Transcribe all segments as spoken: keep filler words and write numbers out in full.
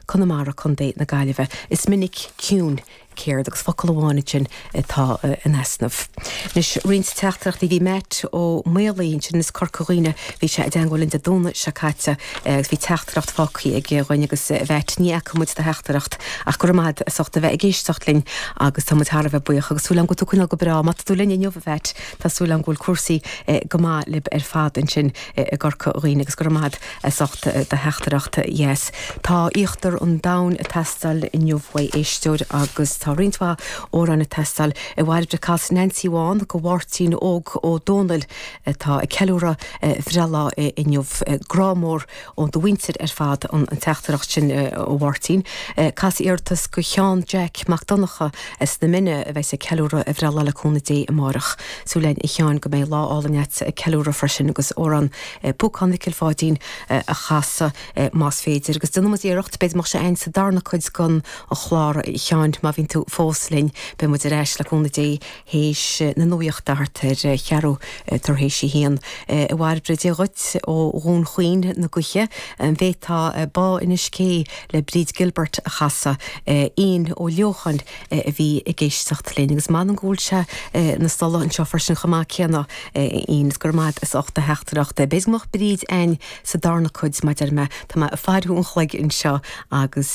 Conamara Contae na Gaillimhe. Is minic ciúin céard agus focal amháin ansin atá in easnamh. Anois roinnt teachtaireachtaí bhí Matt Ó Maolaí ansin as Corca Dhuibhne bhí sé i dteagmháil linn Dé Domhnaigh seo caite agus bhí teachtaireacht fágtha aige dhúinn agus a Mhatt ní fhaca muid do theachtaireacht ach go raibh maith agat as ucht a bheith ag éisteacht linn agus tá muid thar a bheith buíoch agus súil agam go bhfuil tú ag coinneáil go breá. Má tá tú linn inniu a Mhatt tá súil agam go bhfuil cúrsaí go maith libh ar fad ansin i gCorca Dhuibhne agus go raibh maith agat as ucht do theachtaireacht dheas. Tá íochtar an domhain ag teastáil inniu uaidh éisteoir agus tá roinnt mhaith amhrán ag teastáil a Bhairbre cas Nancy Bhán go Mháirtín Óg Ó Dónaill atá ag ceiliúradh a bhreithlá inniu grá mór ó do mhuintir ar fad an teachtaireacht sin a Mháirtín. Cas iarratas go Sheán Jack Mac Donncha as na Mine a bheas ag ceiliúradh a bhreithlá le cúnamh Dé amárach. Súil againn a Sheáin go mbeidh lá álainn agat ag ceiliúradh freisin agus amhrán Púcán Mhicil Pháidín a chasadh más féidir agus déanfaidh muid iarracht b'fhéidir go mbeadh sé ann sa darna cuid den chlár a Sheáin má bhíonn tú fós linn beidh muid ar ais le cúnamh Dé théis na nuachta thart ar cheathrú tar éis a haon. A Bhairbre Dia dhuit ó Dhún Chaoin na Gaoithe an bhféadfá Bá Inis Cé le Bríd Gilbert a chasadh Ian Ó Leocháin a bhí ag éisteacht linn agus m'anam go bhfuil sé na stolla anseo freisin chomh maith céanna Ian is go raibh maith agat as ucht do theachtaireacht. B'fhéidir go mbeadh Bríd ann sa darna cuid mar a deir mé tá mé ag faire an chloig anseo agus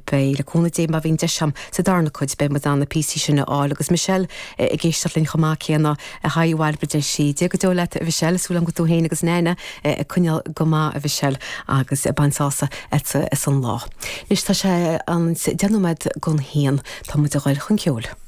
beidh le cúnamh Dé má bhíonn deis agam sa darna cuid beidh muid in ann na píosaí sin a fháil agus Michelle ag éisteacht linn chomh maith céanna a haigh Bhairbre deir sí Dia go deo leat a Mhichelle súil agam go bhfuil tú féin agus Nana ag coinneáil go maith a Mhichelle agus ag baint sásamh as an lá. Anois tá sé an deich nóiméad don haon tá muid ag dul chun ceoil.